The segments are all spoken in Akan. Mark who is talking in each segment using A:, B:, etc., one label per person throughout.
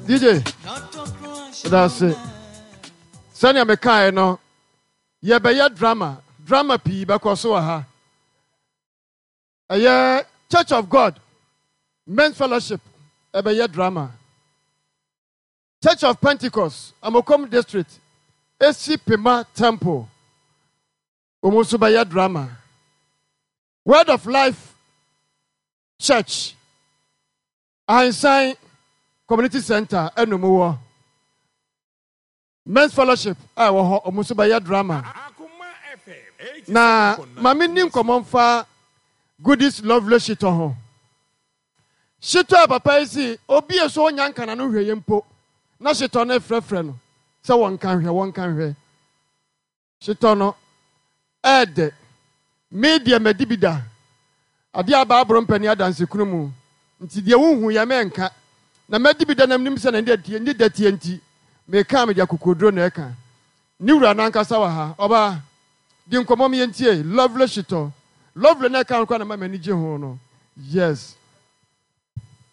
A: DJ, meda ase. Sɛnea mekaeɛ no, yɛbɛyɛ drama. Drama pii bɛkɔ so wɔ ha. Ɛyɛ Church of God Men's Fellowship ɛbɛyɛ drama. Church of Pentecost, Amokom District, Esi Pema Temple, wɔn nso bɛyɛ drama. Word of Life Church, Ahensan Community Center ɛna mu wɔ. Men's Fellowship a ɛwɔ hɔ, wɔn nso bɛyɛ drama. Na ma menni nkɔmmɔ mfa Goodies Lovely Shitɔ ho. Shitɔ a papa yi si obi a so ɔnya nka n'ano hwɛeɛ mpo na shitɔ no refrɛfrɛ no sɛ wɔnka nhwɛ, wɔnka nhwɛ. Shitɔ no ɛɛdɛ. Me deɛ madi bi da. Adeɛ a Bible mpɛ ne adansekuno mu nti deɛ wonhu yɛ mɛnka. Na madi bi da na menim sɛ ne dɛ teɛ nti meka a mede akokoɔduro na ɛka. Ne wura no ankasa wɔ ha. Ɔbaa, di nkɔmmɔ ma yɛntie. Lovely shitɔ. Lovely na ɛka ho koraa na ɛma m'ani gye ho no. Yes.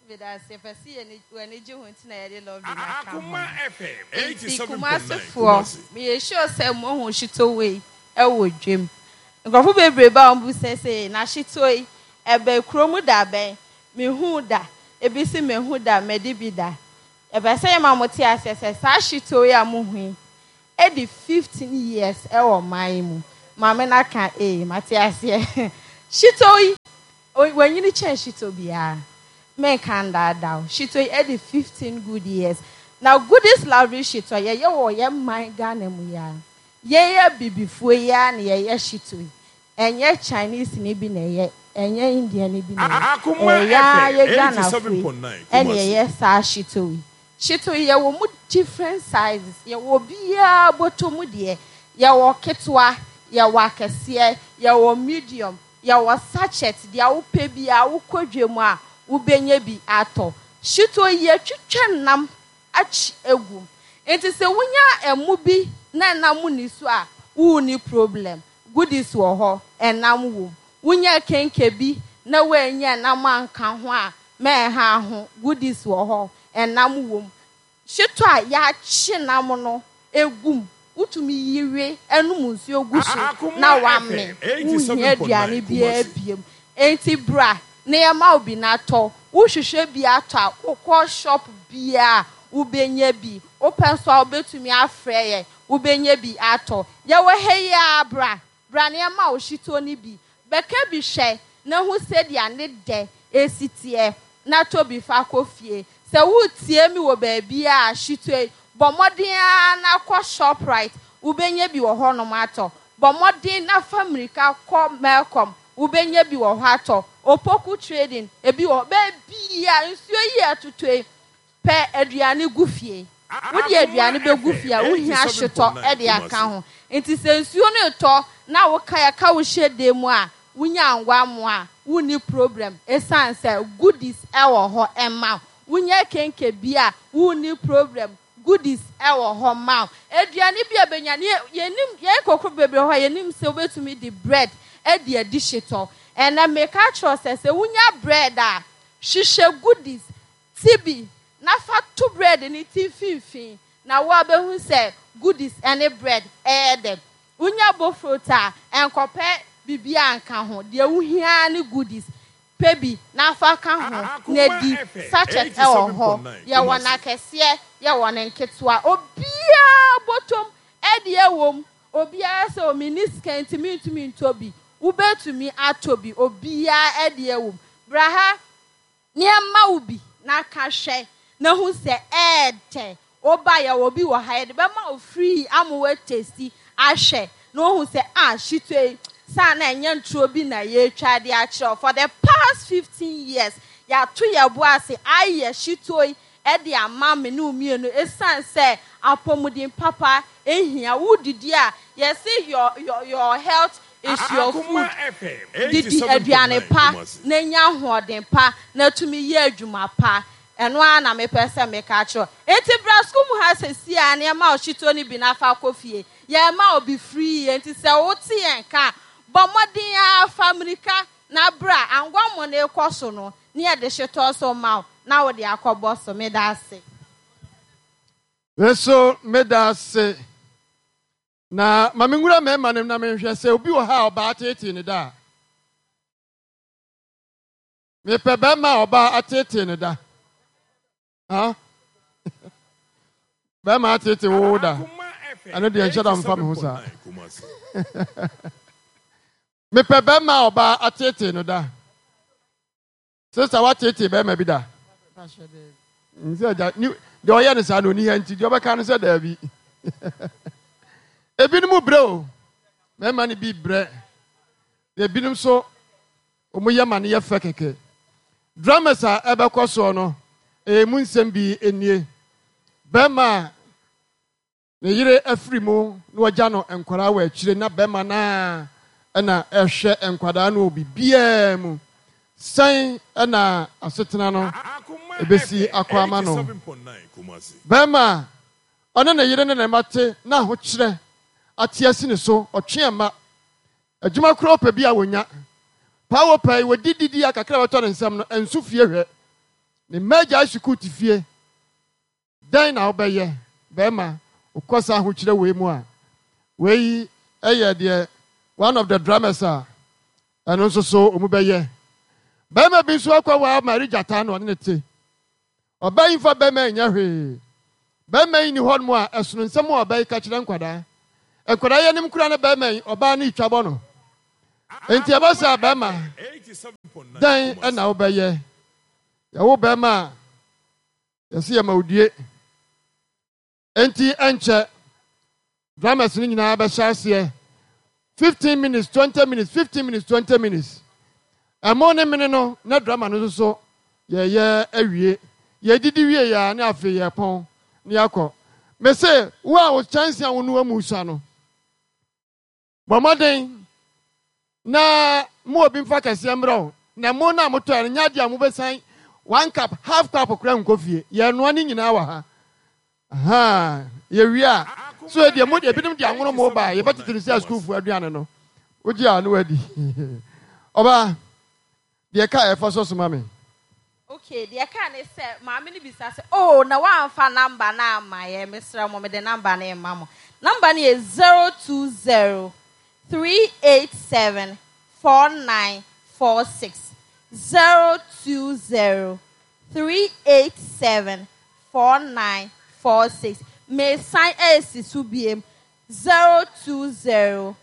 B: Medase, yɛpɛ sɛ yɛn w'ani gye ho nti na yɛde lovely no aka ho no. Enti Kumasi foɔ, meyɛ sure sɛ moahu shito wei wɔ dwam. Nkurɔfo bebree ba a wɔbisa sɛ, na shito yi, ɛbɛn kurom da bɛn? Mehuu da. Ebi se mahu da, madi bi da. Yɛpɛ sɛ yɛma mote aseɛ sɛ saa shito yi a mohu yi, adi 15 years wɔ ɔman yi mu. Maame no aka ee, mate aseɛ. Shito yi, wanyini kyɛn shito biara. Menka ndaadaa wo. Shito yi adi 15 good years. Na Goodies Lovely Shito yɛyɛ wɔ yɛn man Ghana mu yi ara. Yɛn abibifoɔ yi ara na yɛyɛ shito yi. Ɛnyɛ Chinese ni bi na ɛyɛ, ɛnyɛ Indian ni bi na ɛyɛ. Ɛyɛ yɛn ara yɛ Ghanafoɔ yi ɛna yɛyɛ saa shito yi. Shito yi yɛwɔ mu different sizes, yɛwɔ obiara bɔtɔ mu deɛ, yɛwɔ ketewa, yɛwɔ akɛseɛ, yɛwɔ medium, yɛwɔ sachet, deɛ wopɛ biara wokɔ dwa mu a wobɛnya bi atɔ. Shito yi yɛtwitwa nam akyi agu mu, nti sɛ wonya ɛmo bi na ɛnam nni so a wonni problem, goodies wɔ hɔ, ɛnam wɔ mu. Wonya kenke bi na woannya ɛnam anka ho a mɛnha ho, goodies wɔ hɔ, ɛnam wɔ mu. Hyetɔ a yɛakye nam no gu mu, wotumi yi we nom nsuo gu so na woame, wonhia aduane biara biom. Enti bra na yɛma wo bi na tɔ. Wohwehwɛ bi atɔ a, wokɔ shop biara a wobɛnya bi. Wopɛ nso a wobɛtumi afrɛ yɛn, wobɛnya bi atɔ. Yɛwɔ ha yi ara, bra, bra na yɛma wo hyetɔ no bi. Bɛka bi hwɛ na hu sɛdeɛ ne dɛ si teɛ, na tɔ bi fa kɔ fie. Sɛ woretie me wɔ baabiara a, hyetɔ yi, bɔ mmɔden ara na kɔ Shoprite, wobɛnya bi wɔ hɔnom atɔ. Bɔ mmɔden na fa mmirika kɔ Melcom, wobɛnya bi wɔ hɔ atɔ. Opoku Trading, ebi wɔ hɔ. Baabiara, nsuo yi a ɛtotɔ yi, pɛ aduane gu fie. Wode aduane bɛgu fie a, wohia hyetɔ de aka ho. Nti sɛ nsuo no retɔ na wo ka yɛka wo hyɛ dan mu a, wonya anguammoa a, wonni problem ɛsiane sɛ goodies wɔ hɔ ma wo. Wonya kenke bi a, wonni problem, goodies wɔ hɔ ma wo. Aduane bi a bɛnya no, yɛnim, yɛn nkurɔfoɔ bebree wɔ hɔ a yɛnim sɛ wobɛtumi de bread de adi hyetɔ. Ɛnnɛ meka akyerɛ wo sɛ, sɛ wonya bread a, hwehwɛ goodies, ti bi na fa to bread no ti mfimfini na woabɛhu sɛ goodies ne bread ɛyɛ dɛ. Wonya bofrot a, nkɔpɛ biribiara nka ho, deɛ wohia ara ne goodies. Pɛ bi na fa ka ho na di. Sachet wɔ hɔ, yɛwɔ no akɛseɛ, yɛwɔ no nketewa. Obiara bɔtɔm deɛ wɔ mu. Obiara sɛ o menni sika nti mentumi ntɔ bi. Wobɛtumi atɔ bi, obiara deɛ wɔ mu. Bra ha na yɛmma wo bi na ka hwɛ na hu sɛ ɛɛdɛ. Woba a yɛwɔ bi wɔ ha yɛde bɛma wo free ama woatesti ahwɛ na woahu sɛ ah shito yi saa na ɛnyɛ ntoro bi na yɛretwa de akyerɛ wo. For the past 15 years yɛato yɛn bo ase ayɛ shito yi de ama me ne wo mmienu ɛsiane sɛ apɔmuden papa hia. Wodidi a yɛse your your your health is your food. Didi aduane pa na nya ahoɔden pa na tumi yɛ adwuma pa. Ɛno ara na mepɛ sɛ meka kyerɛ wo. Enti bra sukuu mu ha seesei ara na yɛmma wo hyetɔ no bi na fa kɔ fie. Yɛrema wo bi free, enti sɛ wote yɛn nka a, bɔ mmɔden ara fa mmirika na bra. Anguammɔ no rekɔ so no, na yɛde hyetɔ nso ma wo. na wode akɔbɔ so. Meda ase.
A: Me nso meda ase. Na ma menwura mmarima no mu na menhwɛ sɛ obi wɔ ha a ɔbaa teetee ne da a. Mepɛ bɛrima a ɔbaa ateetee ne da. Ha? Bɛrima ateetee wo da. Ɛno deɛ nhyɛ da mfa me ho saa. Mepɛ bɛrima a ɔbaa ateetee no da. Sista wateetee bɛrima bi da? Nsɛ agya ni deɛ ɔyɛ no saa na ɔni ha nti deɛ ɔbɛka no sɛ daabi. Ebinom brɛ o, mmarima no bi brɛ. Ebinom nso wɔn yɛ ma no yɛ fɛ kɛkɛ. Dramas a ɛbɛkɔ soɔ no, ɛyɛ mu nsɛm bi nie. Bɛrima a Ne yere afiri mu na wagya no nkwadaa wɔ akyire na bɛrima no ara na ɛhwɛ nkwadaa no wɔ biribiara mu. Sɛn na asetena no bɛsi akɔ ama no? Bɛrima a ɔne ne yere ne ne mma te na ahokyerɛ ate asi ne so, ɔtwe mma. Adwuma koraa ɔpɛ bi a wɔnya. Paa wɔpɛ yi, wɔdi didi a kakra a ɛbɛtɔ ne nsam no, ɛnso fie hwɛ. Ne mma agyae sukuu te fie. Dɛn na wobɛyɛ, bɛrima, wokɔ saa ahokyerɛ wei mu a? Wei yɛ deɛ one of the dramas a ɛno nso so wɔn bɛyɛ. Bɛrima bi nso akɔ waa Mary Gyata na ɔne ne te. Ɔbaa yi mfa bɛrima yi nyɛ hwee. Bɛrima yi ni hɔnom a ɛsono nsɛm a ɔbaa yi ka kyerɛ nkwadaa. Nkwadaa yi anim koraa na bɛrima yi ɔbaa no retwa bɔ no. Enti ɛba saa bɛrima, dɛn na wobɛyɛ? Yɛwo bɛrima a Yɛse yɛma wo due. Enti ɛnkyɛ drummers no nyinaa bɛhyɛ aseɛ 15 minutes, 20 minutes, 15 minutes, 20 minutes. Ɛmo ne mene no na drama no nso so yɛyɛ awie. Yɛdidi wie yɛ a ne afei yɛpɔn ne yɛakɔ. Mese wo a wo kyɛnse a wonoa mu sua no, Bɔ mmɔden na mo obi mfa kɛseɛ mmerɛ wo, na mo no a motɔɛ no nyɛ adeɛ a mobɛsan one cup, half cup koraa nkɔ fie. Yɛnoa ne nyinaa wɔ ha. Ahaa, yɛwie a, so deɛ mo ebinom de anwono mo ba a, yɛbɛtete no sɛ asukuufoɔ aduane no. Wogye a ne wadi. Ɔbaa, deɛ ɛka a ɛfa so soma me.
B: Okay, deɛ ɛka ne sɛ maame no bisa sɛ, oh, na woamfa number no amma yɛ, mesrɛ mo, mede number no rema mo. Number no yɛ 020 387 4946. 020 387 4946. Mesan ɛresi so biem, 020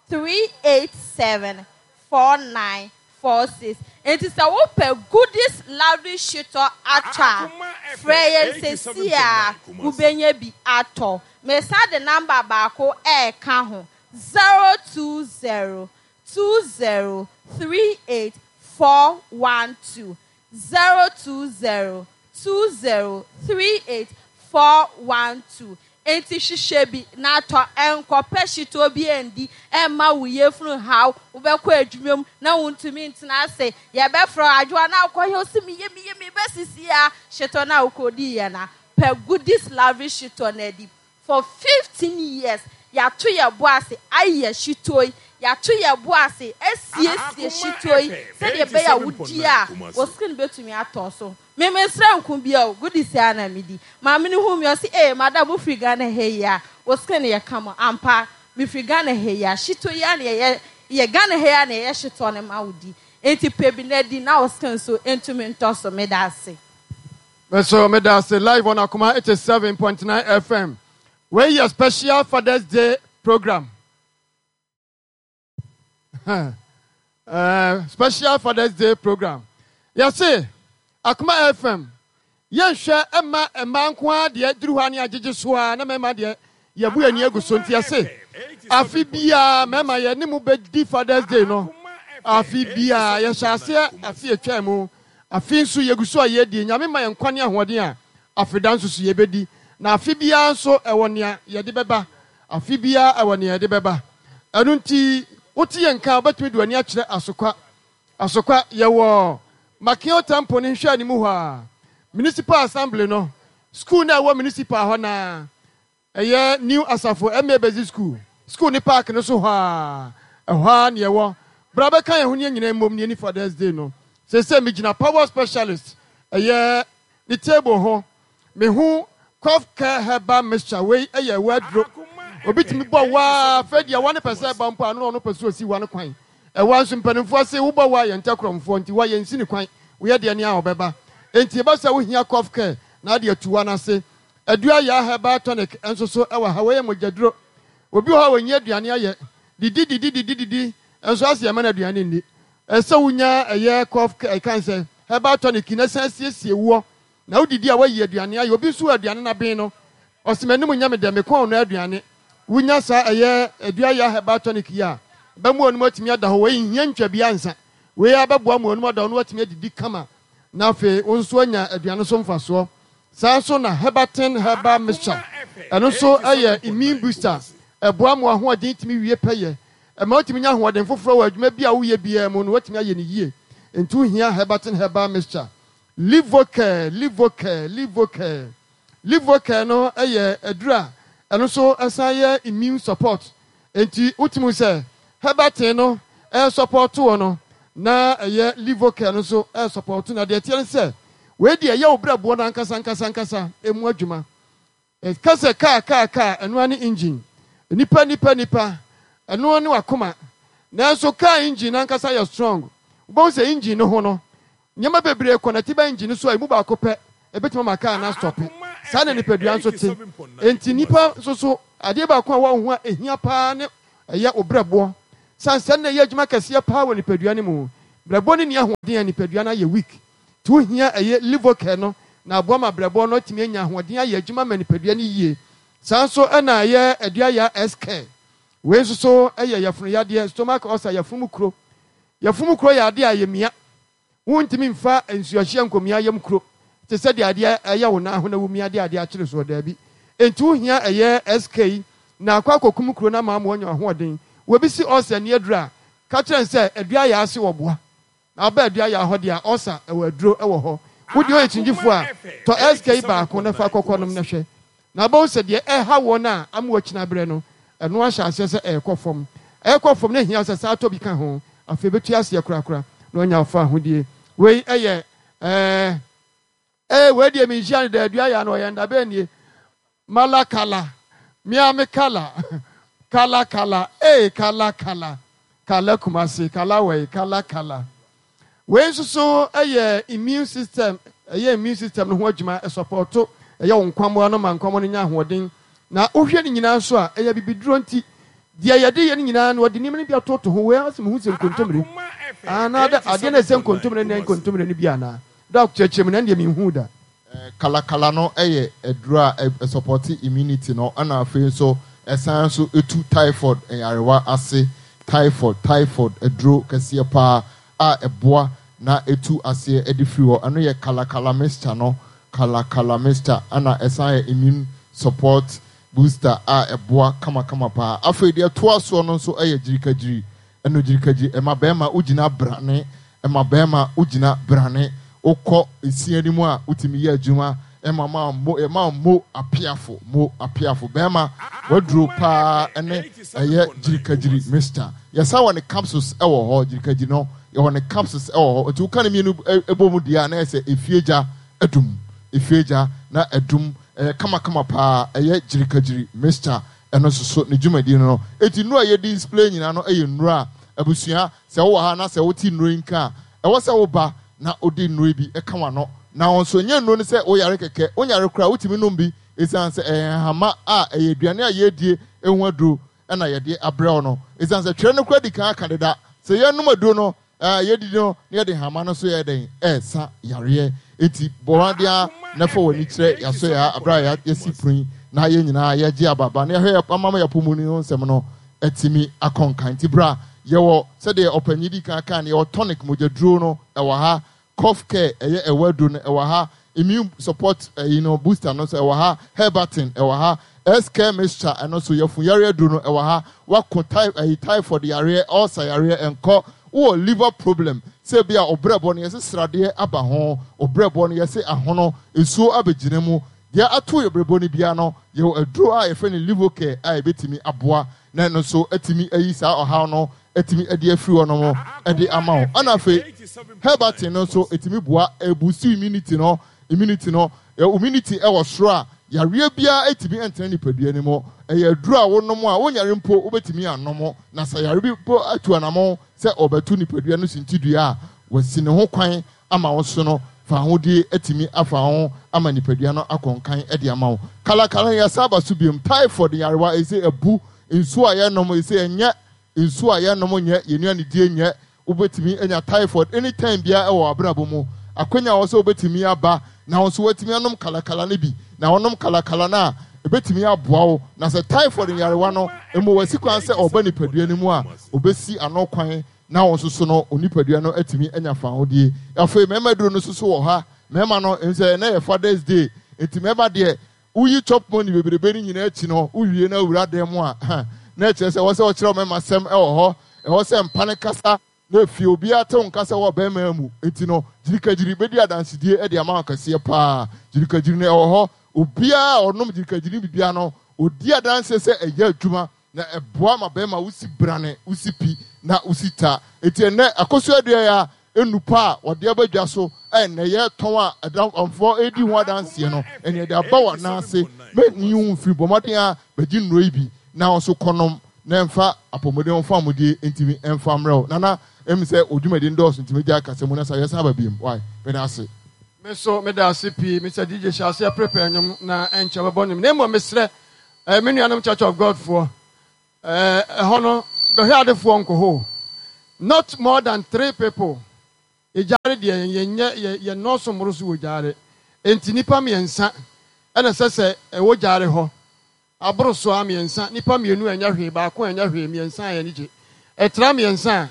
B: 387 4946. Enti sɛ wopɛ Goodies Laundry Shitɔ atɔ a, frɛ yɛn seesei ara, wobɛnya bi atɔ. Mesan de number baako reka ho, 020 20 38 412. 020 20 38 412 Enti hwehwɛ bi na tɔ. Nkɔpɛ hyetɔ bi ndi mma wo yafunu nhaw. Wobɛkɔ adwuma mu na wuntumi ntena ase. Yɛbɛfrɛ wo, Adwoa, na wokɔ he? Ose, Meye, meye, meba sisi ara. Hyetɔ no a wokodiiɛ no a, pɛ Goodies Lavish hyetɔ no adi. For 15 years, yɛato yɛn bo ase ayɛ hyetɔ yi. Yɛato yɛn bo ase asiesie hyetɔ yi sɛdeɛ ɛbɛyɛ a wodi a, wo skin bɛtumi atɔ so. Me mensrɛ nko bia o, goodies ara na medi. Maame no huu me ɔse ee madam wo firi Ghana ha yi a, wo skin yɛ kama. Ampa, me firi Ghana ha yi a, shito yi ara na yɛyɛ, yɛ Ghana ha yi ara na yɛyɛ shitɔ no ma wo di. Enti pɛ bi na di na wo skin nso ntumi ntɔ so. Meda ase.
A: Me nso meda ase live on Akoma 87.9 FM. Wei yɛ special Father's Day program. Eh, special Father's Day program. Yɛse Akoma FM yɛnhwɛ mma mmaa nko ara deɛ duru hɔ a ne agyegye so ara na mmarima deɛ yɛbu yɛn ani agu so nti yɛse afe biara mmarima yɛne mo bɛdi Father's Day no afe biara yɛhyɛ aseɛ afe atwa mu afe nso yɛgu so a yɛdie nyame ma yɛn nkwa ne ahoɔden a afeda nso so yɛbɛdi na afe biara nso ɛwɔ nea yɛde bɛba Afe biara ɛwɔ nea ɛde bɛba. Ɛno nti, wote yɛn nka a, wobɛtumi de w'ani akyerɛ Asokwa. Asokwa, yɛwɔ Makeo Temple no nhwɛanimu hɔ ara, Municipal Assembly no, sukuu no a ɛwɔ Municipal hɔ no ara, ɛyɛ New Asafo MA Basic School, sukuu no park no so hɔ ara, ɛhɔ ara na yɛwɔ. Bra bɛka yɛn ho ne yɛn nyinaa mmom ne yɛnni Father's Day no. Seesei megyina Power Specialist, ɛyɛ. Ne table ho, mehu Cough Care Herbal Mixture, wei yɛ ɛwɔ aduro. Obi tumi bɔ wa a, afei deɛ wa no pɛ sɛ ɛba mpo a, na ɔno pɛ sɛ ɔsi wa no kwan. Ɛwa nso mpanimfoɔ se wobɔ wa a yɛntɛ korɔmfoɔ nti wa yɛnsi no kwan, woyɛ deɛ nea ɔbɛba. Enti ɛba sɛ wohia Cough Care na ade atu wa no ase. Adua Yaa Herbal Tonic nso so wɔ ha, wei yɛ mogyaduro. Obi wɔ hɔ a ɔnyi aduane ayɛ, didi didi didi didi nso ase yɛmma no aduane nni. Ɛsɛ sɛ wonya ɛyɛ cough care ɛka sɛ herbal tonic na san siesie woɔ na wodidi a woayi aduane ayɛ. Obi nso wɔ aduane no aben no ɔse m'anim nyɛ me dɛ me kɔn nnɔ aduane. Wonya saa ɛyɛ aduaya herbal tonic yi a ɛbɛma w'anom atumi ada hɔ. Wei nhia ntwa biara nsa. Wei ara bɛboa ma w'anom ada hɔ na woatumi adidi kama na afei wo nso woanya aduane so mfasoɔ. Saa nso na Herbatin herbal mixture ɛno nso yɛ immune booster ɛboa ma w'ahoɔden tumi wie pɛyɛ. Ɛma wotumi nya ahoɔden foforɔ wɔ adwuma bi a woyɛ biara mu no, woatumi ayɛ no yie. Nti wohia Herbatin Herbal Mixture. Livocare, Livocare, Livocare. Livocare no yɛ aduru a ɛno nso san yɛ immune support. Nti wotumi hu sɛ Herbatin no ɛresupporto wɔ no na ɛyɛ Livocare no nso ɛresupporto. Na deɛ ɛteɛ ne sɛ wei deɛ ɛyɛ wo berɛboɔ no ankasa ankasa ankasa ɛmu adwuma. Ka sɛ kaa kaa kaa, ɛno ara ne engine. Nipa nipa nipa, ɛno ara ne w'akoma. Nanso kaa engine no ankasa yɛ strong. Wobɛhu sɛ engine no ho no, nneɛma bebree kɔnɛte ba engine no so a emu baako pɛ ɛbɛtumi ama kaa no astɔpe. Saa na nipadua nso te. Enti nipa nso so, adeɛ baako a ɛwɔ wo ho a ɛhia paa ne ɛyɛ wo brɛboɔ. Sane sɛ ɛno na ɛyɛ adwuma kɛseɛ paa wɔ nipadua no mu. Brɛboɔ no nni ahoɔden a, nipadua no ayɛ weak. Nti wohia ɛyɛ Livocare no na aboa ma brɛboɔ no atumi anya ahoɔden ayɛ adwuma ama nipadua no yie. Saa nso na ɛyɛ Aduaya S-Care. Wei nso so yɛ yafunu yadeɛ, stomach ulcer, yafunu mu kuro. Yafunu mu kuro yɛ adeɛ a ɛyɛ mia. Wontumi mfa nsuohyeɛ nkɔmia yam kuro te sɛ deɛ adeɛ ɛyɛ wo nan ho na womia de adeɛ akyere soɔ, daabi. Nti wohia ɛyɛ SK yi na akɔ akɔkum kuro no ama ama woanya ahoɔden. Obi se ulcer nni aduro a, ka kyerɛ no sɛ Aduaya ase wɔboa. Na ɔba adua yaa hɔ deɛ a ɔsa ɛwɔ aduro ɛwɔ hɔ. Wo deɛ woyɛ kyingyifoɔ a, tɔ SK baako na fa kɔkɔ nom na hwɛ. Na wobɛhu sɛ deɛ ɛha woɔ no a ama woakyini abrɛ no, ɛno ahyɛ aseɛ sɛ ɛrekɔ fam. Ɛrekɔ fam no ɛhia sɛ saa tɔ bi ka ho. Afei ɛbɛtu aseɛ korakora na woanya wo fawohodie. Wei ɛyɛ ɛɛ. Ee wei deɛ menhyia no da adua ya no ɔyɛ nda bɛn nie mala kala mea me kala kala kala ee kala kala kala kumase kala wɛi kala kala wei nso so ɛyɛ immune system ɛyɛ immune system no ho adwuma ɛsɔpɔto ɛyɛ wo nkwammoa no ma nkwammoa no nya ahoɔden na wohwɛ no nyinaa nso a ɛyɛ bibiduro nti deɛ yɛde yɛ no nyinaa no wɔde nneɛma no bi atoto ho wei asɛ mehu sɛ nkontommire anaa adeɛ no ɛsɛ nkontommire ne nkontommire no bi anaa Doc kyerɛkyerɛ mu na ɛndeɛ menhuu da.
C: Kalakala no yɛ aduro a ɛsɔpɔte immunity no ɛna afei nso ɛsan nso tu typhoid nyarewa ase. Typhoid, typhoid aduro kɛseɛ paa a ɛboa na ɛtu aseɛ de firi hɔ. Ɛno yɛ kalakala mixture no, kalakala mixture ɛna ɛsan yɛ immune support booster a ɛboa kamakama paa. Afei deɛ ɛtoa soɔ no nso yɛ gyirikagyiri. Ɛno gyirikagyiri ɛma bɛrima wogyina brane Ɛma bɛrima wogyina brane, wokɔ esia no mu a wotumi yɛ adwuma, ɛma ma mo ɛma mo apeafo mo apeafo bɛrima waduro paa ɛne ɛyɛ gyirikagyiri mixture. Yɛsan wɔ ne capsules ɛwɔ hɔ, gyirikagyiri no yɛwɔ ne capsules ɛwɔ hɔ, nti woka ne mmienu ɛbɔ mu deɛ a na yɛ sɛ efie gya adum, efie gya na adum, ɛyɛ kamakama paa, ɛyɛ gyirikagyiri mixture ɛno nso so ne dwumadie no no. Eti nnuro a yɛdi display nyinaa no ɛyɛ nnuro a abusua Sɛ wowɔ ha na sɛ wote nnuro yi nka a, ɛwɔ sɛ woba na wode nnuro yi bi ka w'ano. Na wo nso, ɛnyɛ nnuro no sɛ woyare kɛkɛ, wonyare koraa a, wotumi nom bi ɛsiane sɛ ɛyɛ nhahama a ɛyɛ aduane a yɛredie ho aduro na yɛde abrɛ wo no. Ɛsiane sɛ twerɛ no koraa di kan aka deda sɛ yɛnom aduro no, yɛdidi no na yɛde nhahama no nso yɛ dɛn? Ɛresa yareɛ. Enti bɔ mmɔden ara na fa w'ani kyerɛ yɛaso yɛ ha berɛ a yɛasi pono yi na yɛn nyinaa yɛregye aba ba na yɛhwɛ yɛn apɔmuden ho nsɛm no atumi akɔ nkan. Nti bra, yɛwɔ, sɛdeɛ ɔpanyin dii kan kaa no, yɛwɔ tonic, mogyaduro no, ɛwɔ ha, cough care, ɛyɛ ɛwɔ aduro no, ɛwɔ ha, immune support, ɛyi no, booster no nso, ɛwɔ ha, herbatin, ɛwɔ ha, S care mixture, ɛno nso, yafun yareɛ aduro no, ɛwɔ ha, wako ty, ɛyi, typhoid yareɛ, ulcer yareɛ, ɛnkɔ, wowɔ liver problem, sɛ ebi a ɔbrɛboɔ no yɛse sradeɛ aba ho, ɔbrɛboɔ no yɛse ahono, nsuo abɛgyina mu, Deɛ ato yɛ berɛboɔ no biara no, yɛwɔ aduro a yɛfrɛ no Livocare a ɛbɛtumi aboa na ɛno nso atumi ayi saa ɔhaw no atumi de afiri hɔ nom de ama wo. Ɛna afei Herbatin no nso ɛtumi boa ɛbuusti immunity no, Immunity no, immunity wɔ soro a, yareɛ biara ntumi ntena nipadua no mu. Ɛyɛ aduro a wonom a, wonyare mpo wobɛtumi anom. Na sɛ yare bi mpo atu anamɔn sɛ ɔrebɛto nipadua no sintidua a, wasi ne ho kwan ama wo so no, fawohodie atumi afa ho ama nipadua no akɔ nkan de ama wo. Kalakala no yɛasan aba so biom. Typhoid nyarewa, ɛsɛ abu. Nsuo a yɛnom, ɛsɛ ɛnyɛ nsuo a yɛnom nyɛ, yɛn nnuanedie nyɛ. Wobɛtumi anya typhoid anytime biara wɔ w'abrabɔ mu. Akwanya wɔ sɛ wobɛtumi aba na wo nso woatumi anom kalakala no bi. Na wonom kalakala no a, ɛbɛtumi aboa wo. Na sɛ typhoid nyarewa no mmɔ w'asi kwan sɛ ɔreba nipadua no mu a, ɔbɛsi ano kwan na wo nso so no, wo nipadua no atumi anya fawohodie. Afei mmarima aduro no nso so wɔ ha. Mmarima no, ɛhu sɛ ɛnnɛ yɛ Father's Day, nti mmarima deɛ, Woyi chop money bebrebe no nyinaa akyi no, wowie na wura dan mu a, na ɛkyerɛ sɛ ɛwɔ sɛ wɔkyerɛ mmarima sɛm wɔ hɔ. Ɛwɔ sɛ mpa no kasa na efie obiara te wo nka sɛ wɔ barima mu. Enti no, gyirikagyiri bɛdi adansedie de ama wo kɛseɛ paa. Gyirikagyiri no ɛwɔ hɔ. Obiara a ɔnom gyirikagyiri no biribiara no, ɔdi adanseɛ sɛ ɛyɛ adwuma na ɛboa ma barima wosi brane, wosi pi na wosi ta. Enti ɛnnɛ akosua dua yi a nnupa a wɔde aba dwa so a ɛnnɛ yɛretɔn a adamfoɔ redi ho adanseɛ no, ɛnneɛ de aba w'anan ase. Mɛnyi wo mfiri, bɔ mmɔden ara bɛgye nnuro yi bi na wo nso kɔnom na ɛmfa apɔmuden ho famudeɛ ntumi mfa mmerɛ wo. Nana, ɛm sɛ wo dwumadi no dɔɔso nti mɛgyae kasa mu na sa yɛsan aba biom. Wai, meda ase.
A: Me nso meda ase pii Mister DJ hyɛ aseɛ prepare nnwom na ɛnkyɛ wobɛbɔ nnwom na mmom mesrɛ eh, me nuanom Church of God foɔ eh, ɛhɔ no bɛhwɛ adefoɔ nkɔ hɔ o. Not more than three people Egyaare deɛ yɛnyɛ yɛ yɛnnɔɔso mmoro so wɔ gyaare enti nnipa mmiɛnsa ɛna ɛsɛ sɛ ɛwɔ gyaare hɔ aboro so ara mmiɛnsa nnipa mmienu ɛnyɛ hwee baako ɛnyɛ hwee mmiɛnsa a yɛn gye ɛtra mmiɛnsa a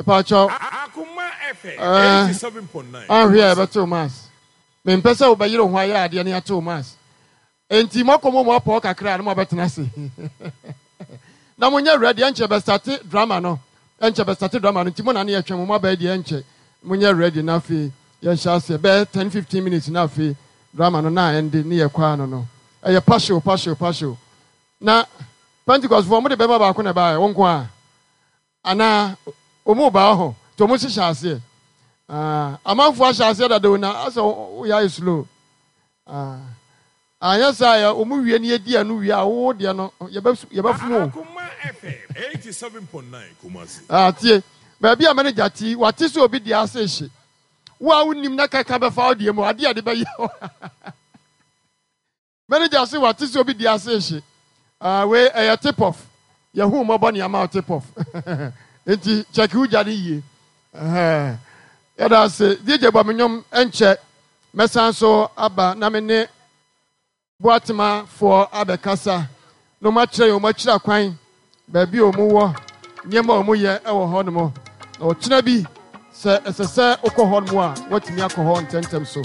A: mepaakyɛw
D: Akoma FM
A: ɛɛ
D: 87.9
A: anhwɛ a
D: Kumasi.
A: yɛbɛtew mass mempɛ sɛ wobɛyere wo ho ayɛ adeɛ ne atew mass Enti moakɔ mo mu apɔw kakra na moabɛtena ase. Na monyɛ ready, ɛnkyɛ bɛstate drama no. Ɛnkyɛ bɛstate drama no, nti mo na ne yɛtwɛn mo, moaba yi deɛ ɛnkyɛ. Monyɛ ready na afei yɛnhyɛ aseɛ. Bɛyɛ 10, 15 minutes na afei drama no na ɛnde ne yɛkɔ ano no. Ɛyɛ pahyew, pahyew, pahyew. Na Pentecostfoɔ, mode bɛma baako na ɛbaeɛ, wo nko ara? Anaa ɔmu baa hɔ nti ɔmo hyehyɛ aseɛ ah, amanfoɔ ahyɛ aseɛ dada o na asɛ woyɛ ayɛ slow ah, anyɛ saa yɛ ɔmo wie ne yɛdi ɛno wie a wo deɛ no yɛbɛfom o.
D: Akoma FM 87.9 Kumasi.
A: Ah, tie baabi a manager ti wate sɛ obi deɛ ase hye wo a wonim na kaka bɛfa wo deɛ mu adeɛ a de bɛyɛ Manager se wate sɛ obi di ase rehye. Ah, wei ɛyɛ tip off. Yɛhu mmɔbɔ ne ama wo tip off. Nti check wo gya no yie. Ɛhɛn. Yɛda ase. DJ bɔ me nnwom ɛnkyɛ. Mɛsan so aba na me ne Boatema foɔ abɛkasa na wɔn akyerɛ yɛn wɔn akyiri akwan, baabi a wɔn wɔ, nneɛma a wɔn yɛ wɔ hɔ nom. Na ɔkyena bi sɛ ɛsɛ sɛ wokɔ hɔ nom a, woatumi akɔ hɔ ntɛmntɛm so.